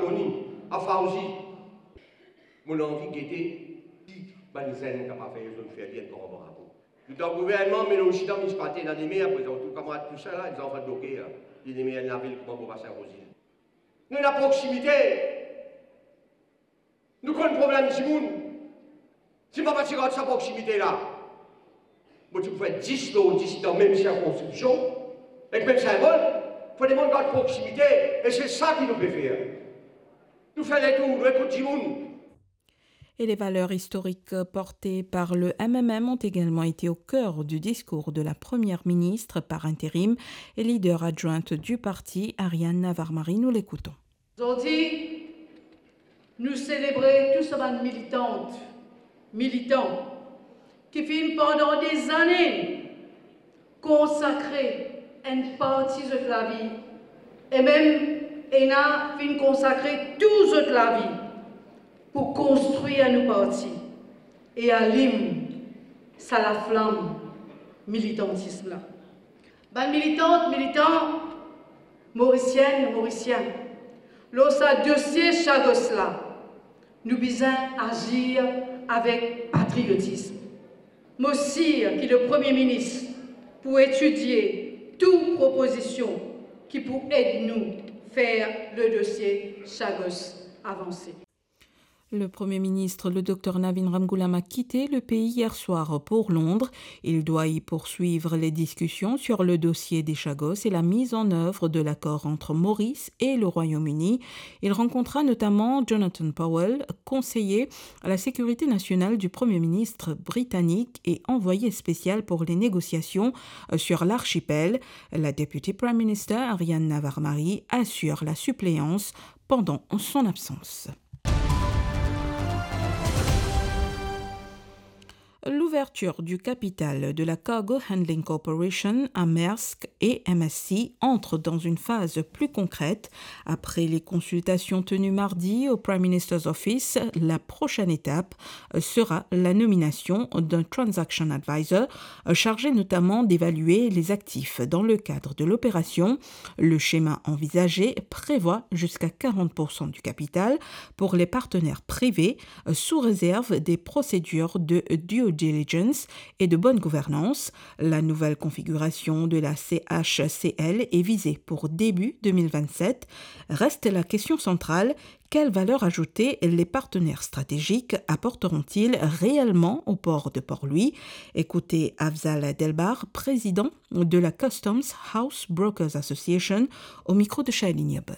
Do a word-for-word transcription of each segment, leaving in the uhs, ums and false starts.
Tony, a Fawzi, mo anvi gete ki bann zenn kapav fer, zot fer li enn gran bravo. Nou dan gouvernman, me nou osi dan minisipalite, ena lemer, prezan tou kamarad tou sa la, zanfan Doker la, li lemer ena lavil kouma Bobasin Rozil. Nou ena proksimite. Nou konn problem dimoun. Si mo pa ti gard sa proksimite la, mo ti pou fer dis lor dis dan mem sirkonskripsion, ek mem sinbol. Fode mo gard proksimite, e se sa ki nou pe fer. Nou fer letour, nou ekout dimoun. Et les valeurs historiques portées par le M M M ont également été au cœur du discours de la première ministre par intérim et leader adjointe du parti, Ariane Navarre-Marie. Nous l'écoutons. Zordi, nou selebre tou sa bann militant, militan ki finn pandan dezane konsakre enn parti zot lavi, e mem ena finn konsakre tou zot lavi pou konstrir nou parti e alim sa laflam militantism la. Bann militant, militan, Morisienn, Morisien, lor sa dosie Chagos la, nou bizin azir avek patriotism. Mo sir ki le Premie Minis pou etidie tou propozision ki pou ed nou fer le dosie Chagos avanse. Le Premier ministre, le docteur Navin Ramgoolam, a quitté le pays hier soir pour Londres. Il doit y poursuivre les discussions sur le dossier des Chagos et la mise en œuvre de l'accord entre Maurice et le Royaume-Uni. Il rencontra notamment Jonathan Powell, conseiller à la sécurité nationale du Premier ministre britannique et envoyé spécial pour les négociations, euh, sur l'archipel. La Deputy Prime Minister, Ariane Navarre-Marie, assure la suppléance pendant son absence. L'ouverture du capital de la Cargo Handling Corporation à Maersk et M S C entre dans une phase plus concrète. Après les consultations tenues mardi au Prime Minister's Office, la prochaine étape sera la nomination d'un transaction advisor, chargé notamment d'évaluer les actifs dans le cadre de l'opération. Le schéma envisagé prévoit jusqu'à quarante pour cent du capital pour les partenaires privés, euh, sous réserve des procédures de due diligence et de bonne gouvernance. La nouvelle configuration de la C H C L est visée pour début deux mille vingt-sept. Reste la question centrale, quelle valeur ajoutée les partenaires stratégiques apporteront-ils réellement au port de Port-Louis ? Écoutez Afzal Delbar, président de la Customs House Brokers Association, au micro de Shailene Yabon.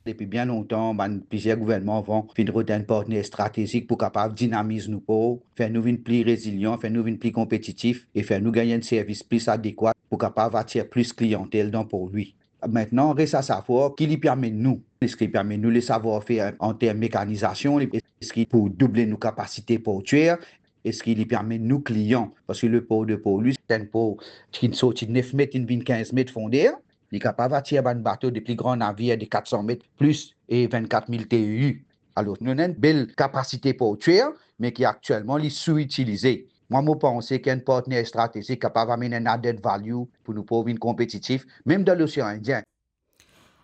Depi bien lontan, bann plizier gouvernman avan finn rod enn partner stratezik pou kapav dinamiz nou por, fer nou vinn pli rezilian, fer nou vinn pli konpetitif e fer nou gagn enn servis plis adekwat pou kapav atir plis kliyantel dan Port-Louis. Aster, res a savwar ki li pe amenn nou. Eski li pe amenn nou le savwar-fer an term mekanizasion? Eski pou double nou kapasite portier? Eski li pe amenn nou kliyan? Parski le por de Port-Louis, se enn por ki sorti nef met, inn vinn kinz met fonder. Li kapav atir bann bato de pli gran navir de kat san met plis e vennkat mil T E U. Alor, nou ena enn bel kapasite portier, me ki aktielman li sou-itilize. Mwa, mo panse ki enn partner stratezik kapav amenn enn added value pou nou por vinn konpetitif, mem dan Losean Indien.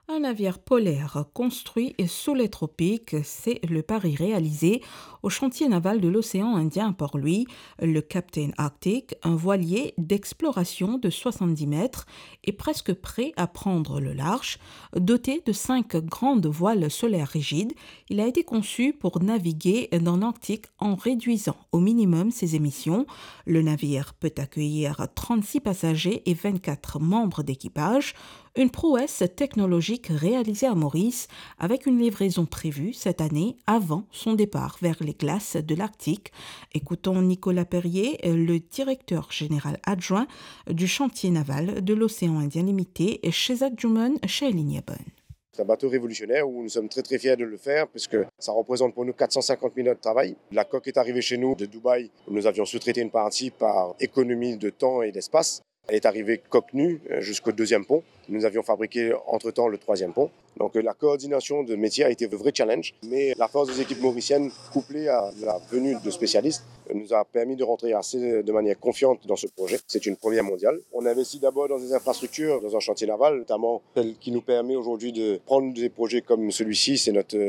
Un navire polaire construit sous les tropiques, c'est le pari réalisé au chantier naval de l'océan Indien à Port-Louis. Le Captain Arctic, un voilier d'exploration de soixante-dix mètres, est presque prêt à prendre le large. Doté de cinq grandes voiles solaires rigides, il a été conçu pour naviguer dans l'Arctique en réduisant au minimum ses émissions. Le navire peut accueillir trente-six passagers et vingt-quatre membres d'équipage. Une prouesse technologique réalisée à Maurice, avec une livraison prévue cette année avant son départ vers les glaces de l'Arctique. Écoutons Nicolas Perrier, le directeur général adjoint du chantier naval de l'Océan Indien Limité, chez Adjuman, chez Lignaban. C'est un bateau révolutionnaire où nous sommes très, très fiers de le faire, puisque ça représente pour nous quatre cent cinquante mille heures de travail. La coque est arrivée chez nous de Dubaï, où nous avions sous-traité une partie par économie de temps et d'espace. Elle est arrivée coque nue, euh, jusqu'au deuxième pont. Nous avions fabriqué entre-temps le troisième pont. Donc, euh, la coordination de métiers a été un vrai challenge, mais la force des équipes mauriciennes, couplée à la venue de spécialistes, euh, nous a permis de rentrer assez de manière confiante dans ce projet. C'est une première mondiale. On investit d'abord dans des infrastructures, dans un chantier naval, notamment celle qui nous permet aujourd'hui de prendre des projets comme celui-ci, c'est notre, euh,